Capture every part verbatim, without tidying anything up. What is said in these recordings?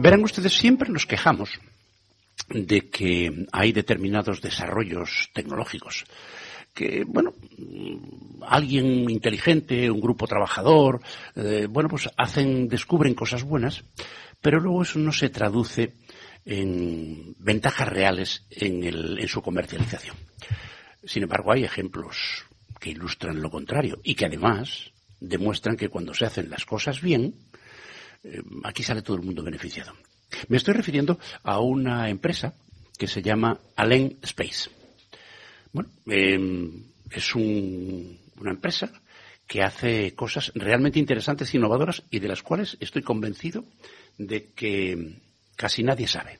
Verán ustedes, siempre nos quejamos de que hay determinados desarrollos tecnológicos que, bueno, alguien inteligente, un grupo trabajador, eh, bueno, pues hacen, descubren cosas buenas, pero luego eso no se traduce en ventajas reales en, el, en su comercialización. Sin embargo, hay ejemplos que ilustran lo contrario y que además demuestran que cuando se hacen las cosas bien, eh, aquí sale todo el mundo beneficiado. Me estoy refiriendo a una empresa que se llama Allen Space. Bueno, eh, es un, una empresa que hace cosas realmente interesantes e innovadoras y de las cuales estoy convencido de que casi nadie sabe.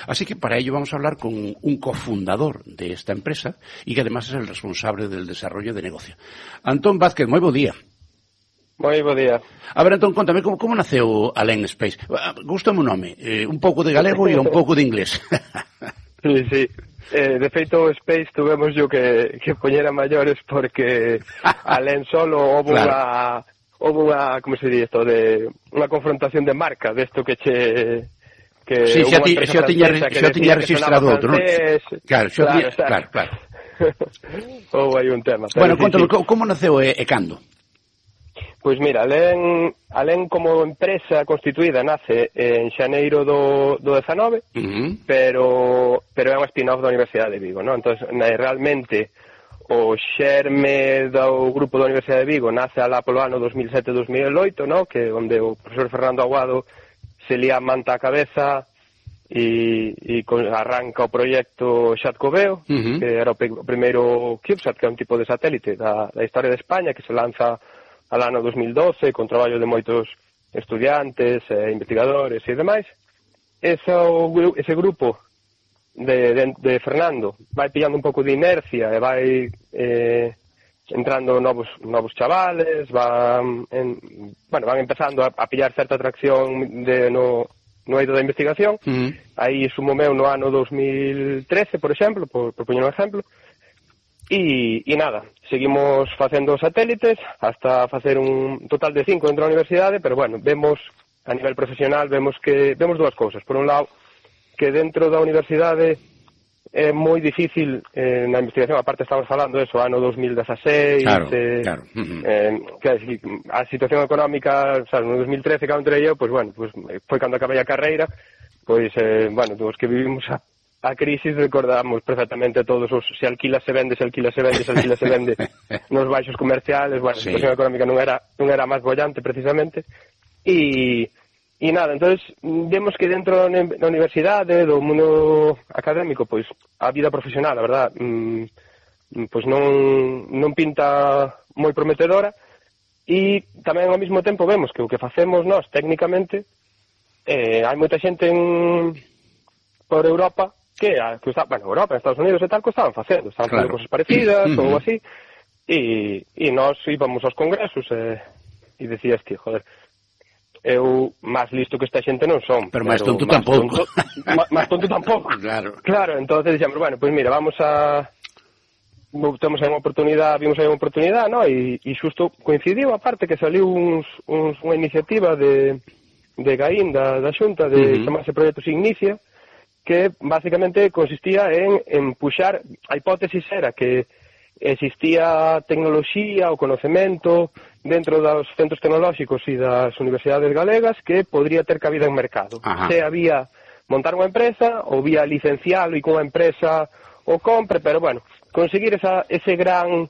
Así que para ello vamos a hablar con un cofundador de esta empresa y que además es el responsable del desarrollo de negocio. Antón Vázquez, moi bo día. Moi bo día. A ver, Antón, contame, como, como naceu Allen Space? Gústame o nome, eh, un pouco de galego e un pouco de inglés. Sí, sí. Eh, de feito, Space tuvemos yo que, que poñer a maiores porque Alén solo houve claro. unha, houve unha, como se di isto, de unha confrontación de marca, desto que che... Que sí, xa ti, xa tiña, xa tiña registrado outro, non? Claro, xa claro, tiña, claro, claro. Houve aí un tema. Bueno, contáme, sí, sí. como naceu e, e cando? Pois mira, Alén, Alén como empresa constituída nace en xaneiro do, do dezanove, uh-huh. pero, pero é unha spin-off da Universidade de Vigo, non? Entón, realmente, o xerme do grupo da Universidade de Vigo nace alá polo ano dos mil sete dos mil oito, non? Que onde o profesor Fernando Aguado se lía a manta a cabeza e, e con, arranca o proxecto Xatcoveo, uh-huh. que era o, o primeiro CubeSat, que é un tipo de satélite da, da historia de España, que se lanza al ano dos mil doce, con traballo de moitos estudiantes, eh, investigadores e demais. Ese, o, ese grupo de, de, de Fernando vai pillando un pouco de inercia e vai eh, entrando novos novos chavales, van, en, bueno, van empezando a, a pillar certa atracción de, no, no eido da investigación. Uh-huh. Aí sumo meu no ano dos mil trece, por exemplo, por, por poñer un exemplo. E, e nada, seguimos facendo satélites hasta facer un total de cinco dentro da universidade, pero bueno, vemos a nivel profesional, vemos que vemos dúas cousas. Por un lado, que dentro da universidade é moi difícil eh, na investigación, aparte estamos falando eso, ano dos mil dezaseis, claro, eh, claro. Uh-huh. eh, que a situación económica, o sea, no dos mil trece cando entrei eu, pois bueno, pues, foi cando acabei a carreira, pois, eh, bueno, os que vivimos a A crisis recordamos perfectamente todos os se alquila se vende, se alquila se vende, se alquila se vende nos baixos comerciales, bueno, sí. A situación económica non era non era máis bollante precisamente. E e nada, entonces vemos que dentro da universidade, do mundo académico, pois a vida profesional, a verdad, mmm, pois non non pinta moi prometedora e tamén ao mesmo tempo vemos que o que facemos nós técnicamente eh, hai moita xente en por Europa que, que está, bueno, Europa, Estados Unidos e tal, que estaban facendo, estaban claro. facendo cosas parecidas uh-huh. ou así, e, e nós íbamos aos congresos e, e decías que, joder, eu máis listo que esta xente non son. Pero máis tonto tampouco. Máis tonto tampouco. Claro. Claro, entonces dixemos, bueno, pois pues mira, vamos a... temos aí unha oportunidade, vimos aí unha oportunidade, no? E, e xusto coincidiu, aparte, que saliu uns, uns, unha iniciativa de, de Gaín, da, da Xunta, de uh-huh. chamarse Proxecto Signicia, que basicamente consistía en, en puxar, a hipótesis era que existía tecnoloxía ou conocemento dentro dos centros tecnolóxicos e das universidades galegas que podría ter cabida en mercado. Ajá. Se había montar unha empresa ou vía licencialo e que unha empresa o compre, pero bueno, conseguir esa, ese gran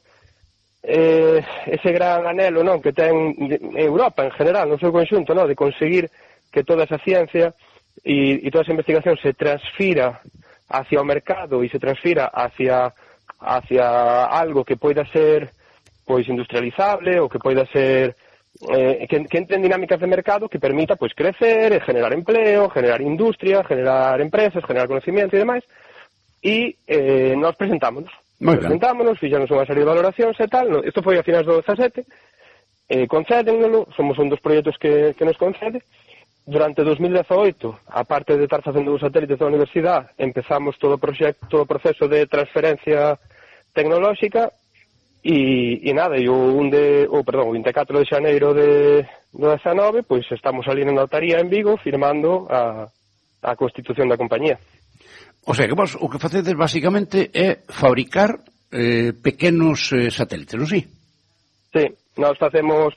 eh, ese gran anhelo, non, que ten Europa en general, no seu conxunto, non, de conseguir que toda esa ciencia E, e toda esa investigación se transfira hacia o mercado e se transfira hacia hacia algo que poida ser pois industrializable ou que poida ser eh, que, que entre en dinámicas de mercado que permita pois crecer, generar empleo, generar industria, generar empresas, generar conocimiento e demais. E eh, nós presentámonos Muy presentámonos, fixamos unha serie de valoracións e tal. Isto foi a finais do dezasete, eh, concédenlo, somos un dos proxectos que, que nos concede. Durante dos mil dezaoito, aparte de estar facendo os satélites da universidade, empezamos todo o proxecto, todo o proceso de transferencia tecnolóxica E, e nada, e o, un de, oh, perdón, o vinte e catro de xaneiro de, do dezanove, pois estamos ali na notaría en Vigo firmando a, a constitución da compañía. O sea, que vos o que facedes basicamente é fabricar eh, pequenos eh, satélites, non si? Sí, nós facemos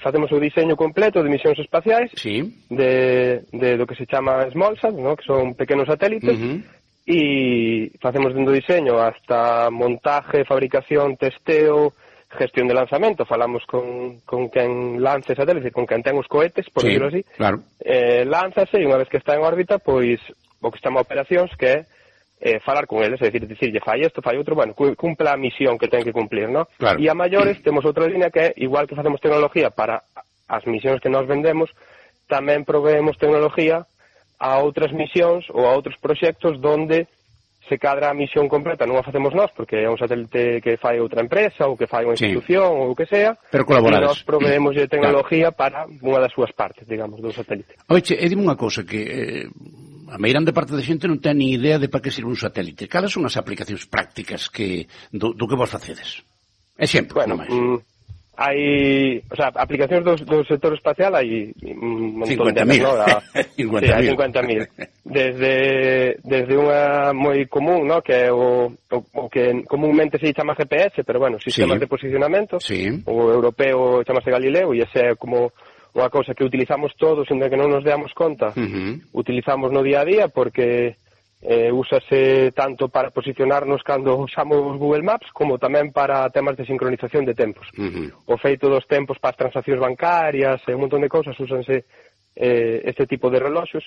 facemos o diseño completo de misións espaciais, sí. de, de do que se chama SmallSat, ¿no? Que son pequenos satélites, uh-huh. E facemos dentro do diseño hasta montaje, fabricación, testeo, gestión de lanzamento. Falamos con, con quen lance satélites, con quen ten os cohetes, por sí, decirlo así. Claro. Eh, lánzase e unha vez que está en órbita, pois o que se chama operacións, que é eh, falar con eles, é dicir, dicirlle fai isto, fai outro, bueno, cumpla a misión que ten que cumplir, ¿no? Claro. E a maiores temos outra línea que é, igual que facemos tecnología para as misións que nos vendemos, tamén proveemos tecnología a outras misións ou a outros proxectos donde se cadra a misión completa non a facemos nós, porque é un satélite que fai outra empresa ou que fai unha institución sí. ou o que sea, pero colaborades. E nós proveemos de tecnología claro. para unha das súas partes, digamos, do satélite. Oiche, e dime unha cousa, que eh, a meirande parte da xente non ten ni idea de para que sirve un satélite. Cales son as aplicacións prácticas que do, do que vos facedes? Exemplo, bueno, non máis. Mm, hai, o sea, aplicacións do, do sector espacial hai un montón de cincuenta mil. ¿no? A, cincuenta sí, hai cincuenta mil. Desde, desde unha moi común, ¿no? Que é o, o, o que comúnmente se chama G P S, pero bueno, sistemas sí. de posicionamento. Sí. O europeo chamase Galileo e ese é como unha cousa que utilizamos todos, onde que non nos deamos conta. Uh-huh. Utilizamos no día a día porque Eh, úsase tanto para posicionarnos cando usamos Google Maps como tamén para temas de sincronización de tempos. Uh-huh. O feito dos tempos para as transaccións bancarias e un montón de cousas úsanse eh, este tipo de reloxos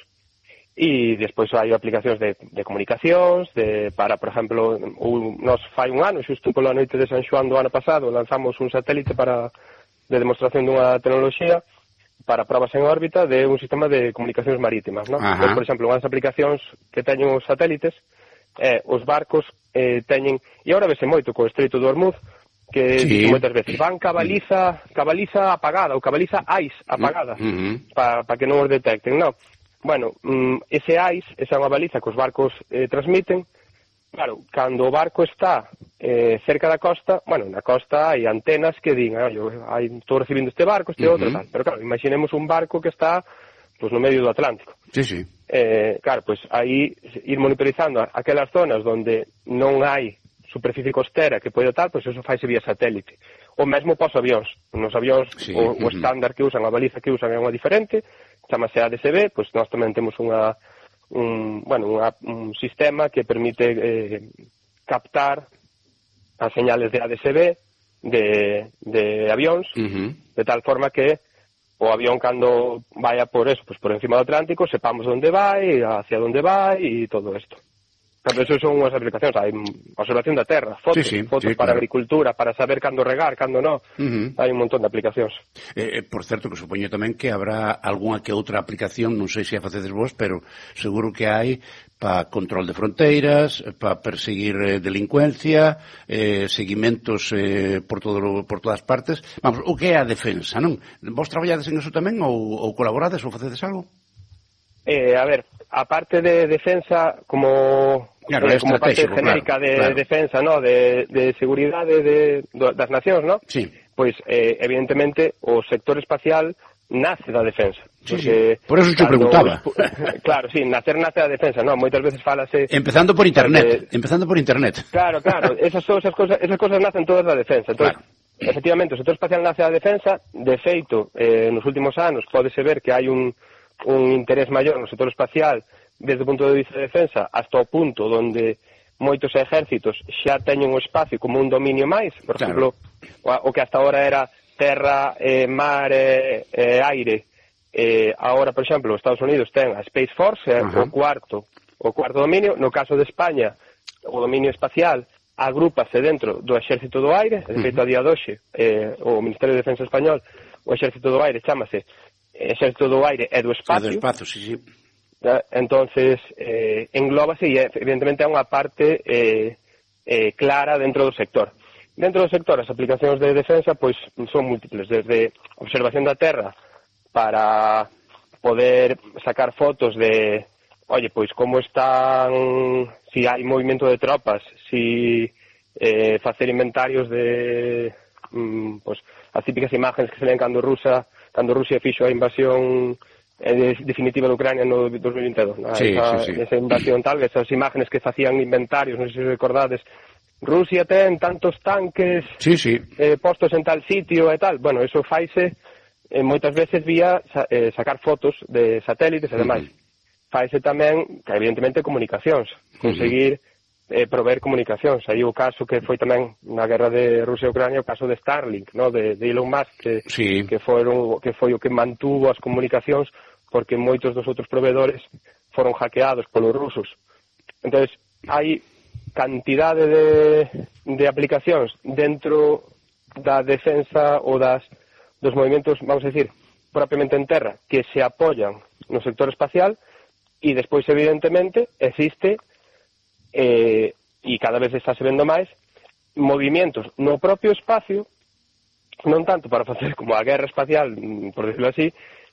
e despois hai aplicacións de, de comunicacións de, para, por exemplo, un, nos fai un ano, xusto pola noite de San Xoán do ano pasado lanzamos un satélite para de demostración dunha tecnoloxía para probas en órbita de un sistema de comunicacións marítimas, ¿no? Pues, por exemplo, unhas aplicacións que teñen os satélites, eh, os barcos eh, teñen, e agora vese moito co Estreito do Hormuz, que sí. moitas veces van cabaliza, cabaliza apagada, ou cabaliza ice apagada, uh-huh. para pa que non os detecten, ¿no? Bueno, mm, ese ice, esa unha baliza que os barcos eh, transmiten, claro, cando o barco está eh, cerca da costa, bueno, na costa hai antenas que din, ah, yo, hai, estou recibindo este barco, este uh-huh. outro, tal. Pero claro, imaginemos un barco que está pues, no medio do Atlántico. Sí, sí. Eh, claro, pues aí ir monitorizando aquelas zonas onde non hai superficie costera que pode tal, pues eso faise vía satélite. O mesmo pos avións. Nos avións, sí. o, o estándar que usan, a baliza que usan é unha diferente, chamase A D S B, pues nós tamén temos unha un, bueno, unha, un sistema que permite eh, captar as señales de A D S B de, de avións, uh-huh. de tal forma que o avión cando vaya por eso, pues por encima do Atlántico, sepamos onde vai, hacia onde vai e todo isto. Pero eso son unhas aplicacións, hai observación da terra, fotos, sí, sí, fotos sí, para claro. agricultura, para saber cando regar, cando non, uh-huh. hai un montón de aplicacións. Eh, por certo, que supoño tamén que habrá algunha que outra aplicación, non sei se a facedes vos, pero seguro que hai para control de fronteiras, para perseguir eh, delincuencia, eh, seguimentos eh, por, todo, por todas partes. Vamos, o que é a defensa, non? Vos traballades en eso tamén ou, ou colaborades ou facedes algo? Eh, a ver, a parte de defensa como, claro, eh, como parte genérica claro, de claro. defensa, ¿no? de, de seguridade de, de, das nacións, ¿no? Sí. Pois, eh, evidentemente, o sector espacial nace da defensa. Sí, sí. Por eso te preguntaba. Claro, sí, nacer nace da defensa, ¿no? Moitas veces falase... Empezando por internet, de... empezando por internet. Claro, claro, esas, esas, cosas, esas cosas nacen todas da defensa. Entonces, claro. efectivamente, o sector espacial nace da defensa, de feito, eh, nos últimos anos pódese ver que hai un un interés maior no sector espacial desde o punto de vista de defensa hasta o punto onde moitos exércitos xa teñen o espacio como un dominio máis, por exemplo, claro. o que hasta ahora era terra, eh, mar, eh, eh, aire, eh, agora, por exemplo, os Estados Unidos ten a Space Force, eh, uh-huh. o cuarto o cuarto dominio. No caso de España, o dominio espacial agrúpase dentro do exército do aire, de feito, uh-huh. a día de hoxe, eh, o Ministerio de Defensa español, o exército do aire chámase exército do aire e do espacio. É do espacio, sí, sí. Entonces, eh, englóbase e evidentemente é unha parte eh, eh, clara dentro do sector. Dentro do sector, as aplicacións de defensa pois son múltiples, desde observación da terra para poder sacar fotos de, oye, pois como están, si hai movimento de tropas, si eh, facer inventarios de mm, pues, as típicas imágenes que se ven cando Rusia, cando Rusia fixo a invasión eh, definitiva de Ucrania no dos mil veintidós, ¿no? Sí, esa, sí, sí. esa invasión tal, esas imágenes que facían inventarios, non sei se recordades, Rusia ten tantos tanques sí, sí. Eh, postos en tal sitio e tal, bueno, eso faise eh, moitas veces vía eh, sacar fotos de satélites e demais. Uh-huh. Faise tamén, que evidentemente, comunicacións, conseguir uh-huh. eh, prover comunicacións. Aí o caso que foi tamén na guerra de Rusia e Ucrania, o caso de Starlink, no? de, de Elon Musk, que, sí. que, foron, que foi o que mantuvo as comunicacións, porque moitos dos outros proveedores foron hackeados polos rusos. Entón, hai cantidade de, de aplicacións dentro da defensa ou das, dos movimentos, vamos a decir, propiamente en terra, que se apoyan no sector espacial, e despois, evidentemente, existe, eh, e cada vez está se vendo máis, movimentos no propio espacio, non tanto para facer como a guerra espacial, por decirlo así,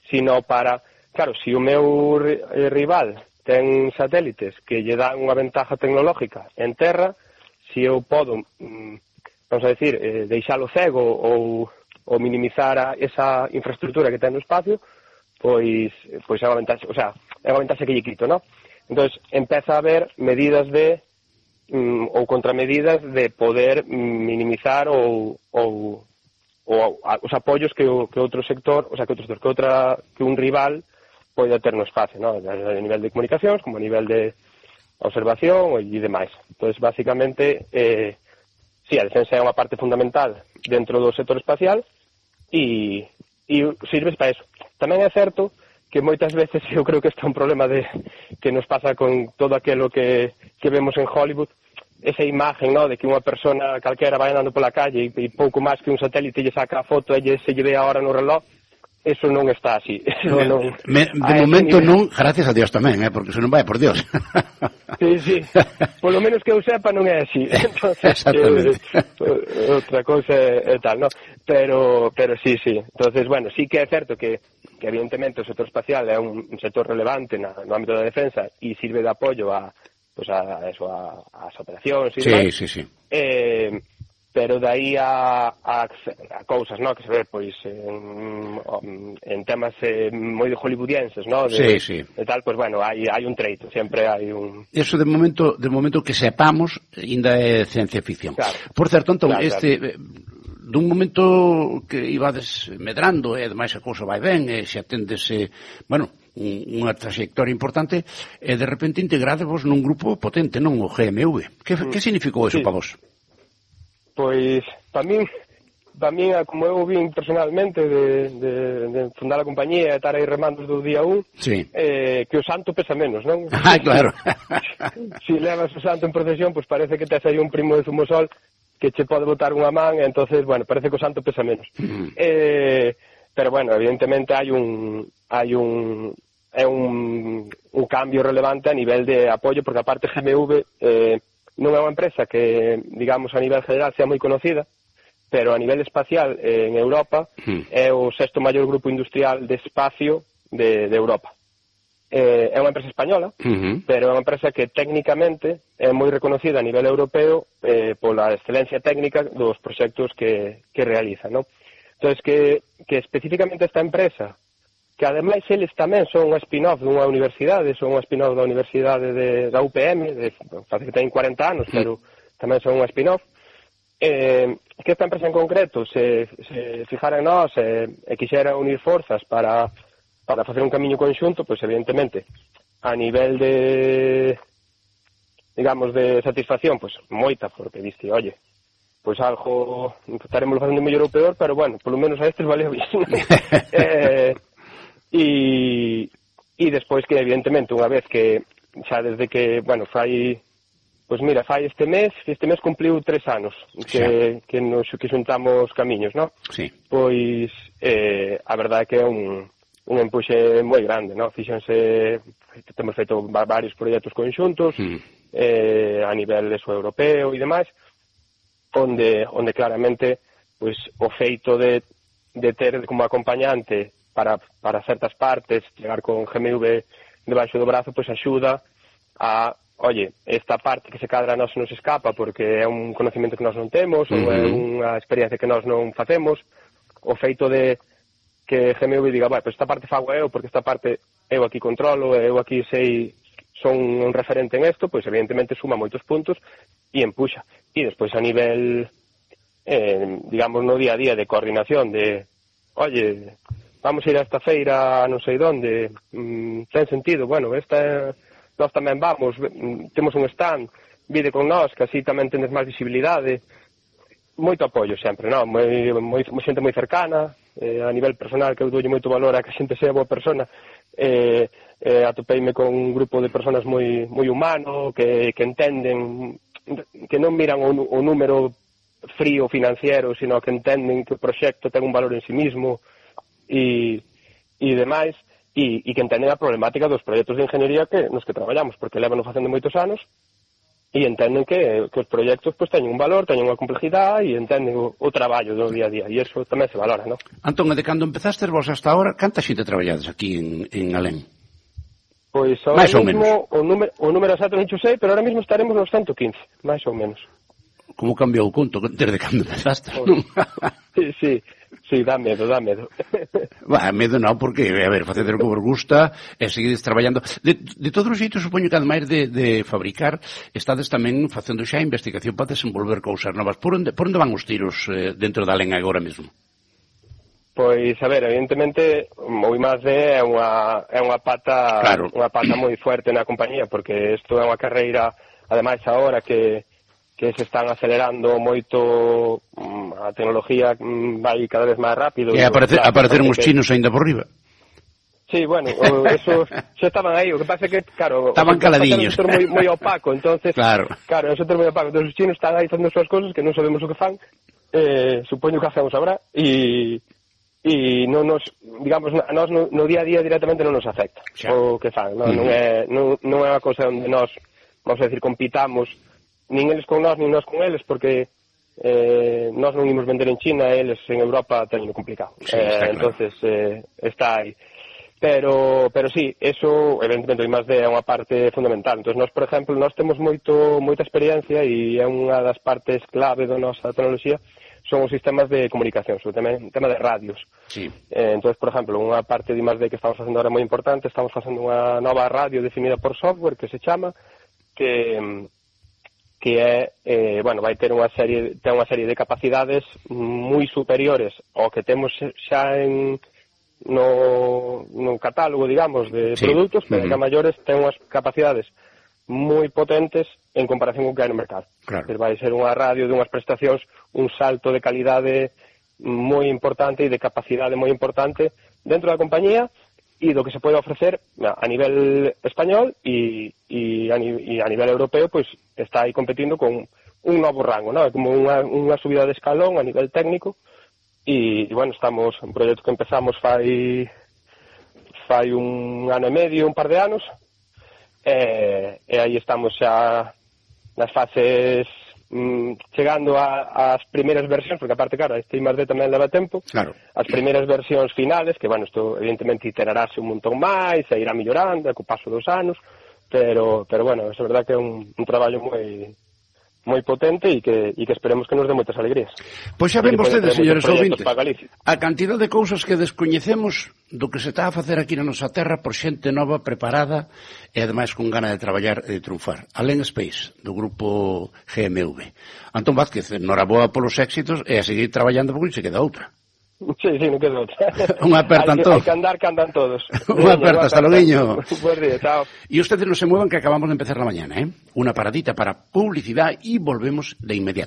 sino para, claro, se o meu rival ten satélites que lle dan unha ventaja tecnológica en terra, se eu podo, vamos a decir, eh, deixalo cego ou, ou minimizar a, esa infraestructura que ten no espacio, pois, pois é unha ventaxa, o sea, é unha ventaxa que lle quito, non? Entón, empeza a haber medidas de, mm, ou contramedidas de poder minimizar ou, ou, ou a, os apoios que, o, que outro sector, o sea, que outro sector, que outra, que un rival pode ter no espacio, ¿no? A nivel de comunicacións, como a nivel de observación e demais. Entón, basicamente, eh, sí, a defensa é unha parte fundamental dentro do sector espacial e, e sirve para eso. Tamén é certo que moitas veces eu creo que este é un problema de que nos pasa con todo aquilo que, que vemos en Hollywood, esa imagen, ¿no? De que unha persona calquera vai andando pola calle e, e pouco máis que un satélite lle saca a foto e lle, se lle ve a hora no reloj. Eso non está así. Eso non, Me, de momento non, gracias a Dios tamén, eh, porque se non vai, por Dios. Sí, sí. Por lo menos que eu sepa non é así. Entonces, exactamente. Eh, outra cousa é, é tal, ¿no? Pero, pero sí, sí. Entonces, bueno, sí que é certo que, que evidentemente o sector espacial é un, un sector relevante na, no ámbito da defensa e sirve de apoio a, pues a, eso, a, a as operacións e sí, demais. sí, sí. Eh, pero de aí a, a, a cousas, no, que se ve, pois, en, en temas eh, moi hollywoodienses, no, de, sí, sí. de tal, pois, bueno, hai, hai un treito, sempre hai un... Eso de momento, de momento que sepamos, ainda é ciencia ficción. Claro. Por certo, Antón, claro, este... claro. dun momento que ibades medrando, e ademais a cousa vai ben, e se atendese, bueno, un, unha trayectoria importante, e de repente integradevos nun grupo potente, non o G M V. Que, mm. que significou eso sí. para vos? Pois, para min, para min, como eu vin personalmente de, de, de fundar a compañía e estar aí remando do día un, sí. eh, que o santo pesa menos, non? Ah, claro. Se si levas o santo en procesión, pois parece que tes aí un primo de Zumosol que che pode botar unha man, e entonces, bueno, parece que o santo pesa menos. Mm. Eh, pero, bueno, evidentemente hai un... hai un é un, un cambio relevante a nivel de apoio, porque aparte G M V... Eh, non é unha empresa que, digamos, a nivel general sea moi conocida, pero a nivel espacial eh, en Europa mm. é o sexto maior grupo industrial de espacio de, de Europa. Eh, é unha empresa española, mm-hmm. pero é unha empresa que técnicamente é moi reconocida a nivel europeo eh, pola excelencia técnica dos proxectos que, que realiza, ¿no? Entón, que, que especificamente esta empresa, que ademais eles tamén son unha spin-off dunha universidade, son unha spin-off da Universidade de, da U P M, de, parece que ten cuarenta anos, pero tamén son unha spin-off, eh, que esta empresa en concreto se, se fijara en nós e, e quixera unir forzas para, para facer un camiño conxunto, pois evidentemente a nivel de, digamos, de satisfacción, pois moita, porque diste, oye, pois algo estaremos facendo mellor ou peor, pero bueno, polo menos a estes valeu bien. eh, E, e despois que, evidentemente, unha vez que, xa desde que, bueno, fai, pois mira, fai este mes, este mes cumpliu tres anos que, que nos que xuntamos camiños, non? Sí. Pois, eh, a verdade é que é un, un empuxe moi grande, non? Fíxense, temos feito varios proxectos conxuntos, mm. eh, a nivel eso, europeo e demais, onde, onde claramente, pois, o feito de, de ter como acompañante para, para certas partes, chegar con G M V debaixo do brazo, pois axuda a oye, esta parte que se cadra a nós nos escapa porque é un conocimiento que nós non temos, uh-huh. ou é unha experiencia que nós non facemos, o feito de que G M V diga, bueno, pues esta parte fago eu, porque esta parte eu aquí controlo, eu aquí sei, son un referente en isto, pois evidentemente suma moitos puntos e empuxa. E despois a nivel, eh, digamos, no día a día de coordinación, de, oye, vamos a ir a esta feira non sei onde, mm, ten sentido, bueno, esta... nós tamén vamos, temos un stand, vide con nós, que así tamén tendes máis visibilidade, moito apoio sempre, non? Moi, moi, xente moi cercana, eh, a nivel personal que eu doulle moito valor a que a xente sea boa persona, eh, eh, atopeime con un grupo de personas moi, moi humano, que, que entenden, que non miran o, o número frío financiero, sino que entenden que o proxecto ten un valor en sí mismo e, e demais, E, e que entenden a problemática dos proxectos de ingeniería que nos que traballamos, porque levan facendo moitos anos e entenden que, que os proxectos pues, teñen un valor, teñen unha complexidade e entenden o, o traballo do día a día, e iso tamén se valora, non? Antón, de cando empezastes vos hasta ahora, canta xente traballades aquí en, en Alén? Pois ahora máis mismo o número, o número exacto non sei, pero ahora mismo estaremos nos ciento quince, máis ou menos. Como cambiou o conto desde cando empezaste, non? Sí, sí. Sí, dá medo, dá medo. Bah, medo non, porque, a ver, faceder o que vos gusta e seguides traballando. De, de todos os xeitos, supoño que ademais de, de fabricar, estades tamén facendo xa investigación para desenvolver cousas novas. Por onde, por onde van os tiros eh, dentro da Alén agora mesmo? Pois, a ver, evidentemente, o I más D é unha, é unha pata claro. unha pata moi fuerte na compañía, porque isto é unha carreira, ademais, agora que que se están acelerando moito, a tecnología vai cada vez máis rápido. E aparecer, claro, apareceron os chinos aínda por riba. Sí, bueno, esos xa estaban aí, o que pasa é que, claro... Estaban caladiños. É un sector moi, moi opaco, entonces... Claro. Claro, é un sector moi opaco, entonces os chinos están aí facendo as súas cosas que non sabemos o que fan, eh, supoño que facemos sabrá, e... e non nos, digamos, a nós no, no día a día directamente non nos afecta xa. O que fan, non, mm. non, é, non, non é unha cosa onde nós, vamos a decir, compitamos nin eles con nós, nin nós con eles, porque eh, nós non imos vender en China, eles en Europa teñen complicado. Sí, eh, claro. Entonces, eh, está aí. Pero, pero sí, eso, evidentemente, o I más D é unha parte fundamental. Entonces, nós, por exemplo, nós temos moito, moita experiencia e é unha das partes clave da nosa tecnoloxía, son os sistemas de comunicación, sobre o tema de radios. Sí. Eh, entonces, por exemplo, unha parte de I más D que estamos facendo ahora moi importante, estamos facendo unha nova radio definida por software que se chama, que... que é, eh, bueno, vai ter unha serie, ten unha serie de capacidades moi superiores ao que temos xa en no, no catálogo, digamos, de sí. produtos, pero uh-huh. que a maiores ten unhas capacidades moi potentes en comparación con que hai no mercado. Claro. Pero vai ser unha radio de unhas prestacións, un salto de calidade moi importante e de capacidade moi importante dentro da compañía e do que se pode ofrecer a nivel español e, e, a, e a nivel europeo, pois está aí competindo con un novo rango, ¿no? É como unha, unha subida de escalón a nivel técnico e, e bueno, estamos un proxecto que empezamos fai fai un ano e medio, un par de anos e, e aí estamos xa nas fases mm, chegando a, as primeiras versións, porque aparte, claro, este I más D tamén leva tempo, claro. As primeiras versións finales, que, bueno, isto evidentemente iterarase un montón máis, e irá millorando, co paso dos anos, pero, pero bueno, é verdad que é un, un traballo moi moi potente e que, e que esperemos que nos dé moitas alegrías. Pois xa ven vostedes, señores ouvintes, a cantidad de cousas que descoñecemos do que se está a facer aquí na nosa terra por xente nova, preparada e ademais con gana de traballar e de triunfar. Alén Space, do grupo G M V. Antón Vázquez, noraboa polos éxitos e a seguir traballando porque se queda outra. Sí, sí, non queda outra. Unha aperta, Antón. Hai que andar, que andan todos. Unha aperta, hasta loguiño. Buen día, chao. E ustedes non se muevan que acabamos de empezar la mañana, ¿eh? Una paradita para publicidad y volvemos de inmediato.